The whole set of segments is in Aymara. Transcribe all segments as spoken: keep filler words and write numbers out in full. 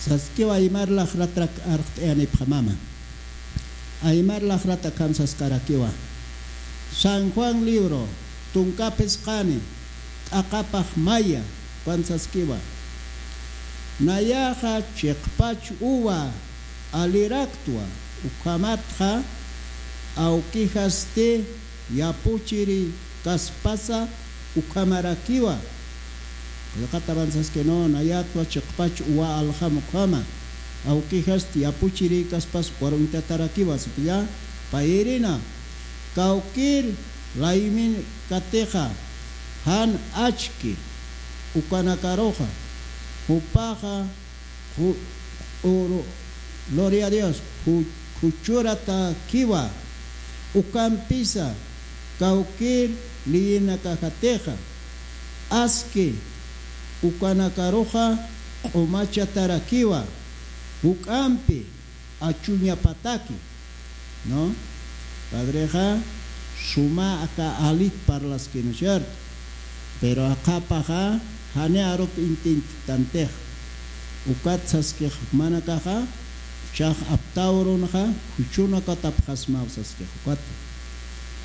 Saskiwa aymar laxratrak arxt'ayanipxamama. Aymar laxrat akham saskarakiwa. San Juan libro, tunka phisqani, t'aqapax maya, ukan saskiwa. Nayaxa chiqpach uwa aliraktwa, ukhamatxa awkixasti yapuchiri kaspasa ukhamarakiwa. Qillqatapan saski, no, nayatwa chiqpach uwa aljam ukhama. Awkixasti yapuchiri kaspas ukhar uñtatarakiwa, sipilla, payirina. Kawkir laymin katixa, jan achki ukanakaruxa, jupaxa, ju-, uru-, gloria a Dios, ju-, juchuratakiwa, ukampisa, kawkir liyinakajatixa, aski ukanakaruxa q'umachatarakiwa, juk'ampi achuñapataki, ¿no? Padrexa suma aka alit parlaskinu, ¿cierto? Pero aqhapaxa jani arup intintitantix. Ukat saskix jumanakaxa, chax aptawrunxa, juchunakatapxasmaw saskix ukat.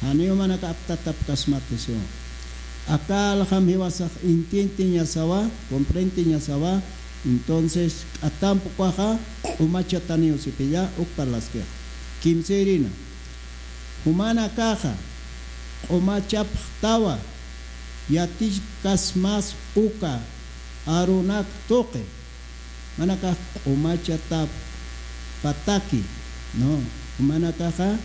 Jani jumanaka aptatapkasmati siwa. Aka aljam jiwasax intintiñasawa, comprendiñasawa, entonces k'atamp ukaxa q'umachataniw sipilla, uk parlaskix. Kimsirina. Jumanakaxa q'umachapxtawa, yatichkasmas uka arunak tuqi. Jumanakax q'umachatapataki, ¿no? Jumanakaxa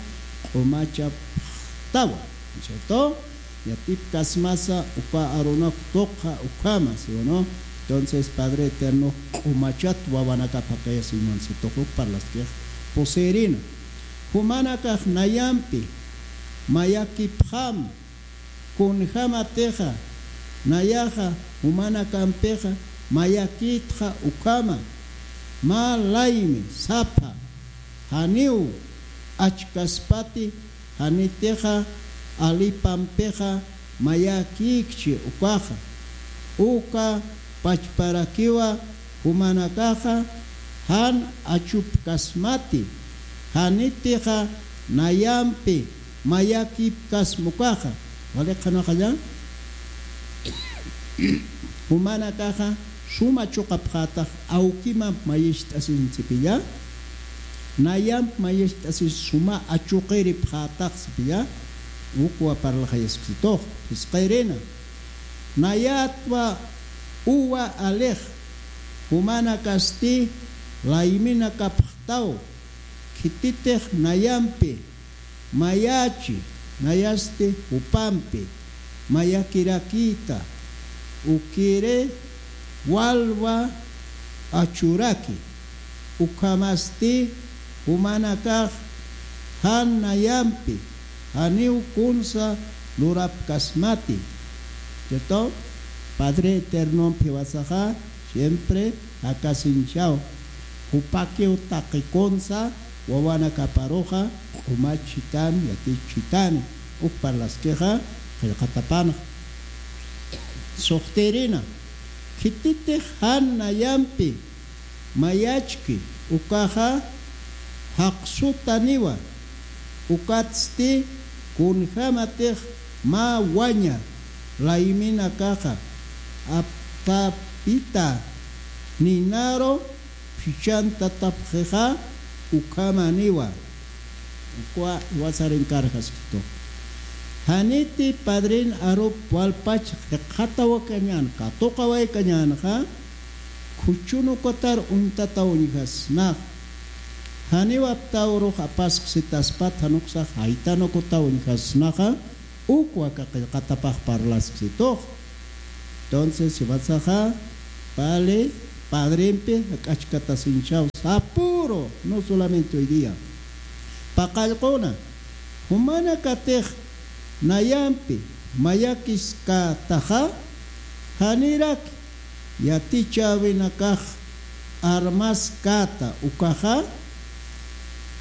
q'umachapxtawa, ¿no es cierto? Yatipkasmasa uka arunak tuqxa ukhama, ¿sí o no? Entonces, Padre Eterno q'umachat wawanakapxakaya siñunsitux uk parlaskix pusirina. Jumanakax nayampi mayakipxam, kunjämatixa nayaxa jumanakampixa mayakïtxa ukhama, mä laymi sapha, janiw achkaspati, janitixa alipampixa mayakïkchi ukaxa, uka pachparakiwa jumanakaxa jan achupkasmati, janitixa nayampi mayakipkasma ukaxa. Wali qhanaxalla, jumanakaxa suma chuqapxätax awkimamp mayicht'asinsipilla, nayamp mayicht'asis suma achuqiripxätaxsipilla, ukwa parlaxayaskitux, phisqirina. Nayatwa uwa alix, jumanakasti layminakapxtaw, khititix nayampi mayachi, nayasti jupampi mayakirakïta, ukiri walwa achuraki, ukhamasti jumanakax jan nayampi janiw kunsa lurapkasmati. Cheto, Padre Eternompi jiwasaxa siempre jakasiñchaw. Jupakiw taqi kunsa wawanakaparuxa q'umachitani, yatichitani, uk parlaskixa qillqatapanxa. Suxtirina, khititix jan nayampi mayachki ukaxa jaqsutaniwa, ukatsti kunjämatix mä waña layminakaxa aptapita ninaru phichhantatapxixa ukhamaniwa. Ukwa iwasarinkarjaskitu. Janiti padrin arup walpach jikxatawakañän, katuqawaykañänxa, khuchunukatar uñtataw uñjasnax. Janiw aptawrux apaskisitaspat, jan uksax jaytanukutaw uñjasnaxa, ukwa aka qillqatapax parlaskisitux. Entonces, jiwasaxa, pali, padrimpi jak'achkatasiñchaw, sapüru, no solamente hoy día. Paqallquna, jumanakatix nayampi mayakiskataxa, janirak yatichäwinakax armaskäta ukaxa,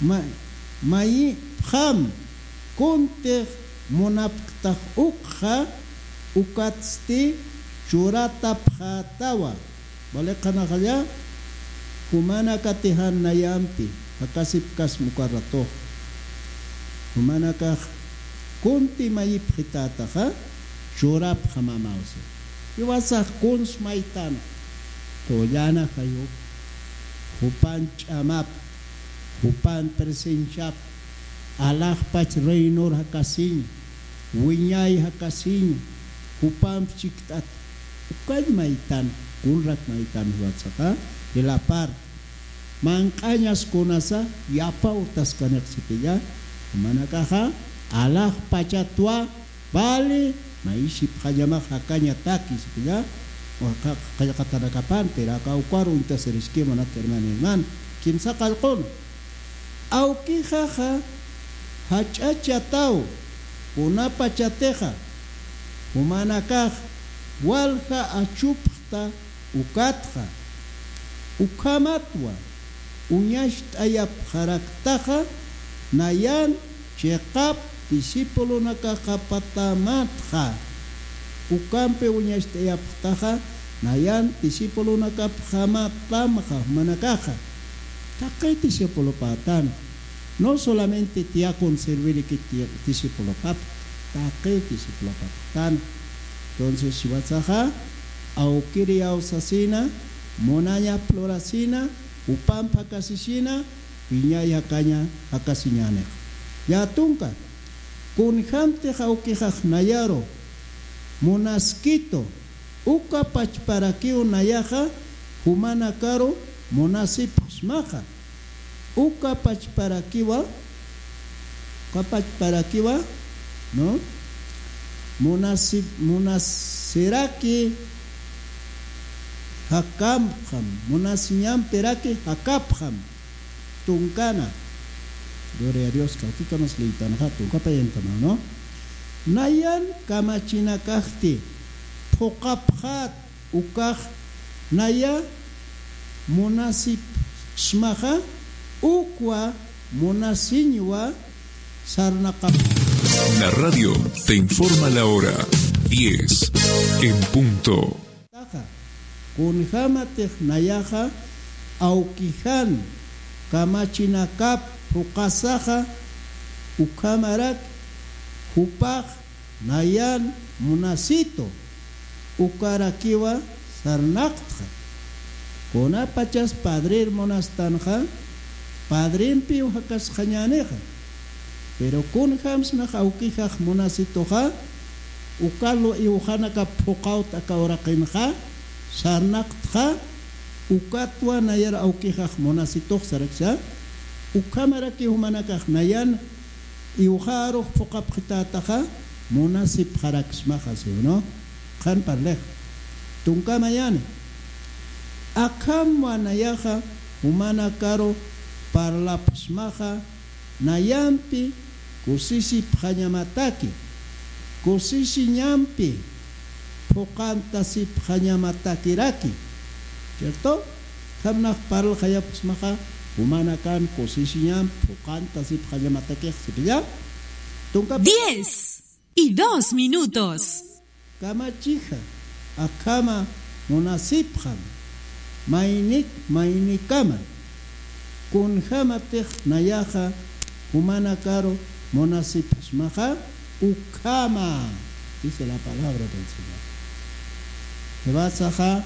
ma-, mayipxam kuntix munapktax ukxa, ukatsti churatapxätawa. Wali qhanaxalla, Jumanakatixa nayampi jakasipkasma uka ratux. Jumanakax kunti mayipxitätaxa churapxamamawsi. Jiwasax kuns maytan qullana jayup, jupan ch'amap, jupan presenciap, alaxpach reinor jakasiñ, wiñay jakasiñ, jupamp chikt'at. Ukall maytan, kunrak maytan jiwatsaxa, jilapar manq'añas kunasa yapa urtaskanix sipilla. Jumanakaxa alaxpachatwa, vale, mayisipxañamax jakañataki sipilla. Qallqatanakapan, pero aka ukar uñtasiriski munat hermano, hermano, kimsa qallqun. Awkixaxa jach'achataw, kunapachatixa jumanakax walja achupxta ukatxa, ukhamatwa uñacht'ayapxaraktaxa, nayan chiqap discipulonakaxapatamatxa. Ukampi uñacht'ayapxtaxa, nayan discipulonakapxamatamxa jumanakaxa. Taqi discipulopätan. No solamente tiakun serviriki discipulopap, taqi discipulopaptan. Entonces jiwatsaxa, awkiri awsasina, munañap lurasina, jupamp jakasisina, wiñay jakaña jakasiñänix. Yä tunka, kunjämtix awkixax nayaru munaskitu, uka pachparakiw nayaxa jumanakaru munasipxsmaxa. Uka pachparakiwa, uka pachparakiwa, ¿no? Munasi-, munasiraki jakäpxam, munasiñampiraki jakäpxam. Tunkana. Gloria a Dios, kawkikamas liytanxa, tunka payankaman, ¿no? Nayan kamachinakasti phuqapxät, ukax naya munasipxsmaxa, ukwa munasiñwa sarnaqap. La radio te informa la hora, diez en punto. Taxa, kunjämatix nayaxa awkijan kamachinakap phuqasaxa, ukhamarak jupax nayan munasitu, ukarakiwa sarnaqtxa. Kunapachas padrir munastanxa, padrimpiw jakasxañänixa. Pero kunjämsnax awkijax munasituxa, ukalu iwxanakap phuqawt aka uraqinxa, sarnaqtxa, ukatwa nayar awkijax munasitux saraksa, ukhamaraki jumanakax nayan iwxarux phuqapxitätaxa, munasipxaraksmaxa, ¿sí o no? Qhan parlix. Tunka mayani. Akham nayaxa jumanakaru parlapxsmaxa, nayampi kusisipxañamataki, kusisiñampi phuqantasipxañamatakiraki. ¿Cierto? Akham nax parlaxayapxsmaxa, jumanakan kusisiñamp phuqantasipxañamatakix sipilla. Tunka diez y dos minutos. Kamachixa, akhama munasipxam, maynik maynikama, kunjämatix nayaxa jumanakaru munasipxsmaxa, ukhama, dice la palabra del Señor. Jiwasaxa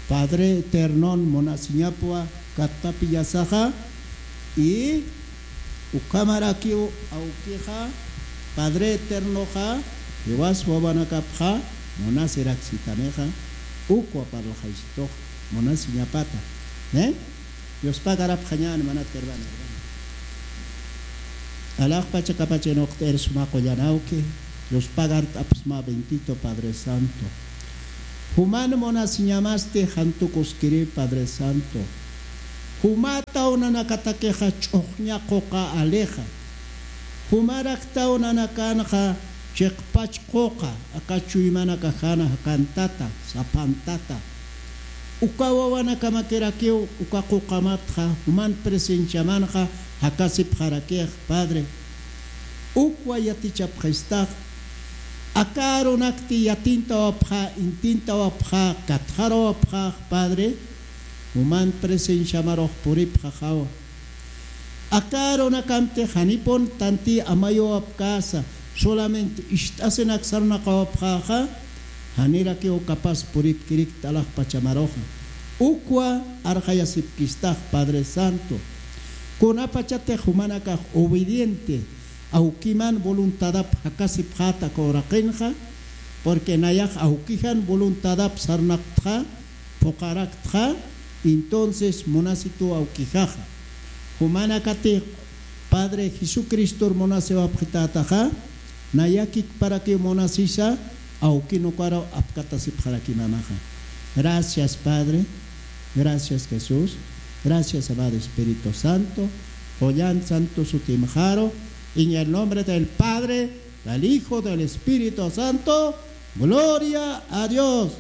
Padre Eternon munasiñapwa kattapillasaxa, y ukhamarakiw awkixa, Padre Eternoxa, jiwas wawanakapxa munasiraksitanixa, ukwa parlaxaysitux munasiñapata. ¿Eh? Yuspagarapxañäni munat hermano, hermano. Alaxpacha kapachin uqt'ir suma qullan awki, yuspagart'apxsma bendito Padre Santo. Juman munasiñamasti jan tukuskiri Padre Santo. Jumataw nanakatakixa ch'uxña quqa alixa. Jumaraktaw nanakanxa chiqpach quqa, aka chuymanakajana jakantata, sapantata. Uka wawanakamakirakiw uka quqamatxa, juman presenciamanxa jakasipxarakix, Padre. Ukwa yatichapxistax, aka arunakti yatintawapxa, intintawapxa, katxarawapxax, Padre. juman presenciamarux puripxaxawa. Aka arunakamti janipun tanti amayuwapkäsa, solamente ist'asinak sarnaqawapxäxa, janirakiw capaz puripkirikta alaxpachamaruxa. Ukwa arxayasipkistax Padre Santo. Kunapachatix jumanakax obediente, awkiman voluntadap jakasipxäta aka uraqinxa, porque nayax awkijan voluntadap sarnaqtxa, phuqharaktxa, entonces munasituw awkijaxa. Jumanakatix Padre Jesucristor munasiwapxitätaxa, nayakikparakiw munasisa, awkin ukaru apkatasipxarakimamaxa. Gracias, Padre. Gracias, Jesús. Gracias, amado Espíritu Santo. Qullan santo sutimxaru, en el nombre del Padre, del Hijo, del Espíritu Santo. Gloria a Dios.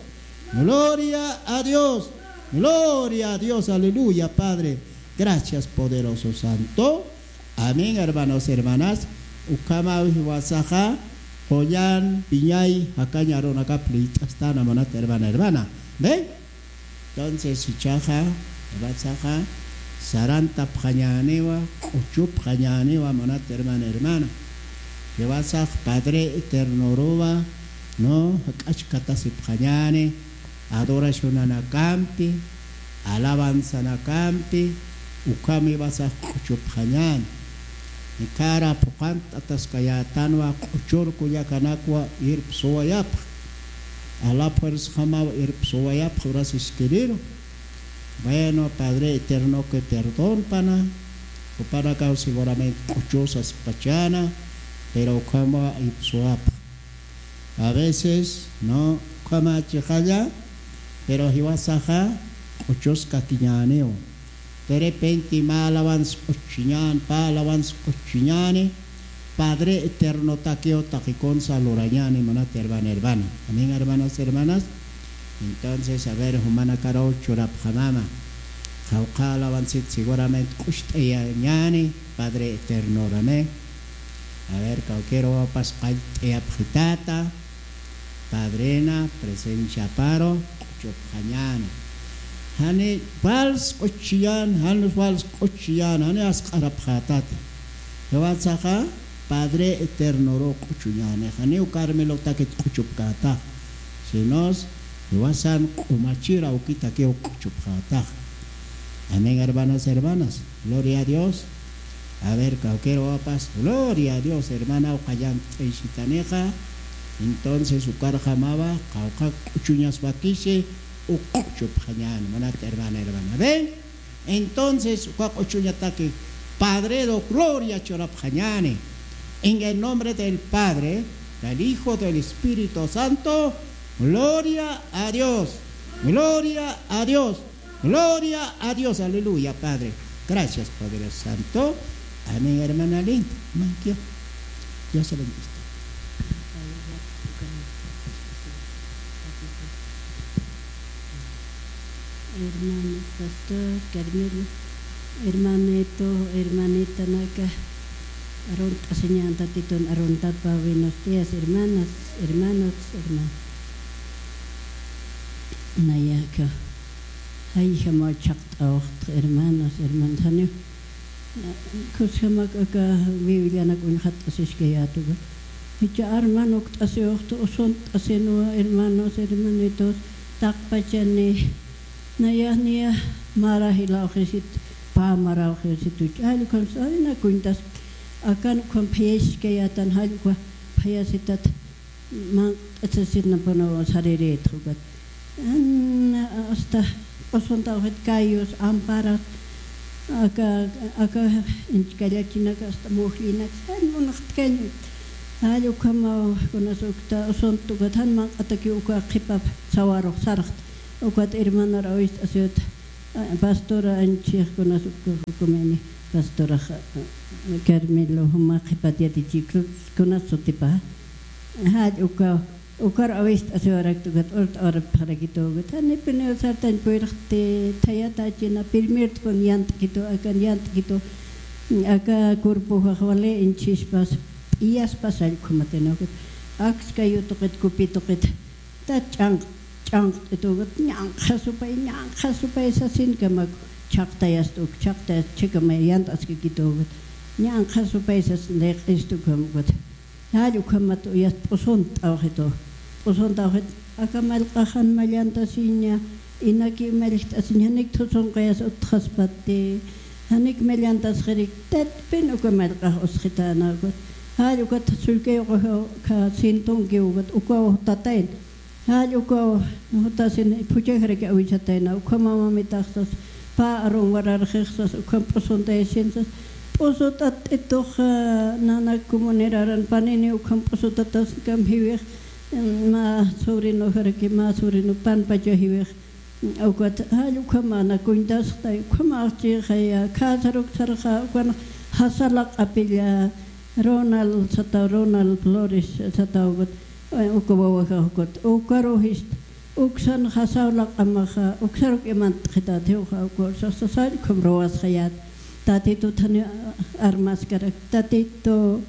Gloria a Dios. Gloria a Dios. Aleluya, Padre. Gracias, poderoso Santo. Amén, hermanos, hermanas. Ukhamaw jiwasaxa, qullan piñay jakañ arunakap liyt'astan, munat hermana, hermana. Amén. Entonces, jichhaxa, jiwasaxa, sarantapxañäniwa, q'uchupxañäniwa, munat hermana, hermana. Jiwasax Padre Eternoruwa, ¿no? Jak'achkatasipxañäni, adoracionanakampi, alabanzanakampi, ukham jiwasax q'uchupxañäni. Jikara phuqhant'ataskayätanwa q'uchur kullakanakwa irpsuwayapx. A la fuerzajamaw irpsuwayapx, uras iskiriru. Bueno, Padre Eterno, que perdón pana, jupanakaw seguramente q'uchusaspachäna, pero ukhamaw irpsuwapx. A veces, ¿no? Ukhama chixalla, pero jiwasaxa q'uchuskakiñäniw. De repente mä alabanza q'uchchiñäni, pä alabanza q'uchchiñäni, Padre Eternotakiw taqi kunsa lurañäni, munat hermana, hermana. Amén, hermanos, hermanas. Entonces, a ver, jumanakaruw churapxamama. Qawqha alabanzit seguramente q'ucht'ayañäni Padre Eternoru, amén. A ver, kawkïruwapas qallt'ayapxitäta, Padrena presenciaparu q'uchupxañäni. Jani vals q'uchchiñäni, jani vals q'uchchiñäni, jani asq'arapxätati. Jiwasaxa Padre Eternoru q'uchuñäni, janiw Carmelotakit q'uchupkätax, sino jiwasan q'umachir awkitakiw q'uchupxätax. Amén, hermanos, hermanas. Gloria a Dios. A ver, kawkïruwapas, gloria a Dios, hermana, uka llant'aysitanixa. Entonces, ukarjamawa, qawqha q'uchuñas wakisi, uk q'uchupxañäni, munat hermana, hermana. ¿Ven? Entonces, uka q'uchuñataki Padreru gloria churapxañäni. En el nombre del Padre, del Hijo, del Espíritu Santo, gloria a Dios, gloria a Dios. Gloria a Dios, aleluya, Padre. Gracias, Padre Santo. Amén, hermana linda. Amén, Dios. Dios se bendiga. Hermano pastor, Carmelo, hermanito, hermanita naka, arunt'asiñan tatitun aruntapa, buenos días, hermanas, hermanos, hermanos. Nayaka. Jayjamaw chhaqt'awxtx hermanos, hermanos, janiw. Kusjamak aka Biblianak uñjat'asiskayätuwa. Jichha arman ukt'asiwxtx, usunt'asinwa, hermanos, hermanitos, taqpachani. Naya, niya, mara jilawxisit, pä marawxisit, jall ukham, ay, na cuentas, akan ukham phayasiskayätan, jall ukha phayasitat. Manq'atasisitnapuniw sarirïtx ukat. An, hasta usuntawxit callos, amparas, aka, aka inchkallachinak hasta mujllinak, jan munxtkañ. Jall ukhamaw kunas ukta usunt ukat jan manq'atakiw uka qhipap sawarux sarxt. Ukat hermanor awist'asiwt. Pastora anchix kunas uka, ukumini pastorax, Carmelo, juma qhipat yatichikunas sutipa. Jall uka, ukar awist'asiwarakta ukat urt'awarapxarakitu ukat. Janipuniw sartañ puyrxti thayatachina, primertpun yant'kitu, akan yant'kitu, aka cuerpojax wali inchhispas, p'iyaspas jall ukhamatina ukat. Akskay utuqit, kupi tuqit. Tat ch'anq, ch'anqt'ituwkat, ñanqha supay, ñanqha supay sasin kamaku, chhaqtayasta uk, chhaqtayasta chhikama yant'askakituwkat, ñanqha supay sasin, layq'istukamukat. Jall ukhamat uyat p'usunt'awxitu, p'usunt'awxit, aka mallq'axan mallantasiña, inaki mallkt'asiña, janik thusunqayas utjaspati, janik mallantasxirik, tatpin uka mallq'ax usxitänawkat. Jall ukat sullkayuqaxa sintunkiwkat, ukaw jutatayna. Jall ukaw jutasin phuchajaraki awisatayna, ukhama mamitaxsas, pä arun wararxixsas, ukham p'usuntayasinsas, p'usut'att'ituxa, nanak comuneraran panini ukham p'usutatasnkam jiwix, mä sobrinojaraki, mä sobrino panpacha jiwix, ukat, jall ukhama nakuñtasxtay, ukhama axchixaya, khäsaruk sarxa, ukan jasalaq'apilla, Ronald sataw, Ronald Flores satawkut, uka wawajaxkut, ukaruxista, uksan jasaw laq'amaxa, uksaruk imant'xitätiwxa, ukaruxsa, sasa, jall ukham ruwasxayät. Tatitut jani armaskarak, Tatitu,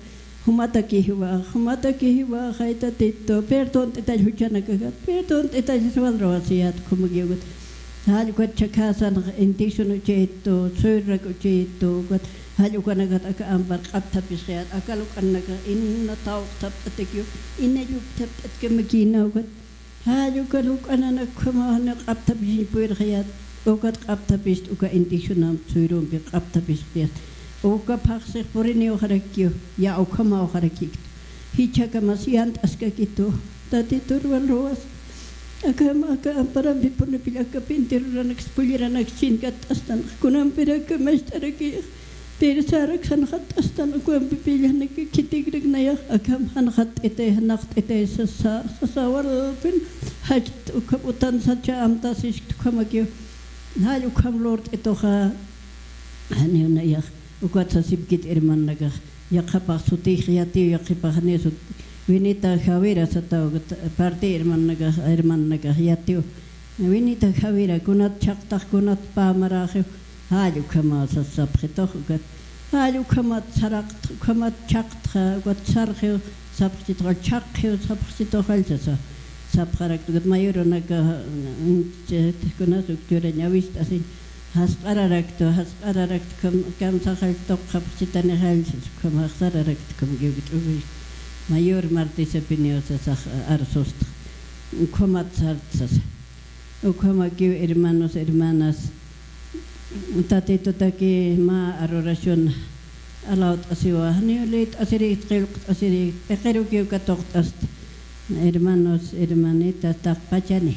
jumataki jiwax, jumataki jiwaxay, Tatitu, perdont'itall juchanakakat, perdont'itall, sasa, wal ruwasiyät, ukhamakiwkut. Jall ukat chhakhasanx indígena uchayitu, suyrak uchayitu, ukat jall ukanakat aka ampar q'apthapisxayät, aka luk'anakax ina tawqthapt'atakiw, ina llupthapt'atkamakïnawkat. Jall uka luk'ananak ukhamaw janiw q'apthapisiñ purirxayät, ukat q'apthapist uka indígenamp suyrumpi q'apthapistiyät. Uka phaxsix puriniwxarakiw, ya ukhamawxarakiktu. Jichhakamas yant'askakitu, Tatitur wal ruwas. Akham aka amparampipunipill aka pinti ruranaks, pulliranak chinkatt'astan, kunampir aka mast'arakix, pirsarak janxatt'astan, ukampipill janak khitikrak nayax, akham janxatt'itay, janxatt'itay sasa, sasa walpin jach't, ukham utan sacha amtasiskt ukhamakiw, jall ukham lurt'ituxa, janiw nayax, ukat sasipkit hermanakax, yaqhapax sutix yatiw, yaqhipax janiw sut, Winita Javira sataw, parti hermanakax, hermanakax yatiw. Winita Javira, kunat chhaqtax, kunat pamaräxiw, jall ukhamaw sas sapxitux, ukat. Jall ukhamat saraqtx, ukhamat chhaqtxa, ukat sarxiw sapxchitux, chhaqxiw sapxchitux, jall sasa. Sapxarakta, ukat mayurunaka, kunas uk churañ awist'asiñ, jasq'ararakta, jasq'ararakta, kam-, kamsaxall tuqxapxchitanixall, sas ukham jasq'ararakta, ukham kiwkit'uwi. Mayor Martisapiniw sasax arsustxa. Ukhamat sarta sasa. Ukhamakiw, hermanos, hermanas, Tatitutaki mä arurasyun alawt'asiwa, janiw lït'asirïkt, qillqt'asirïkt, p'iqirukiw katuqt'asta. Hermanos, hermanitas, taqpachani.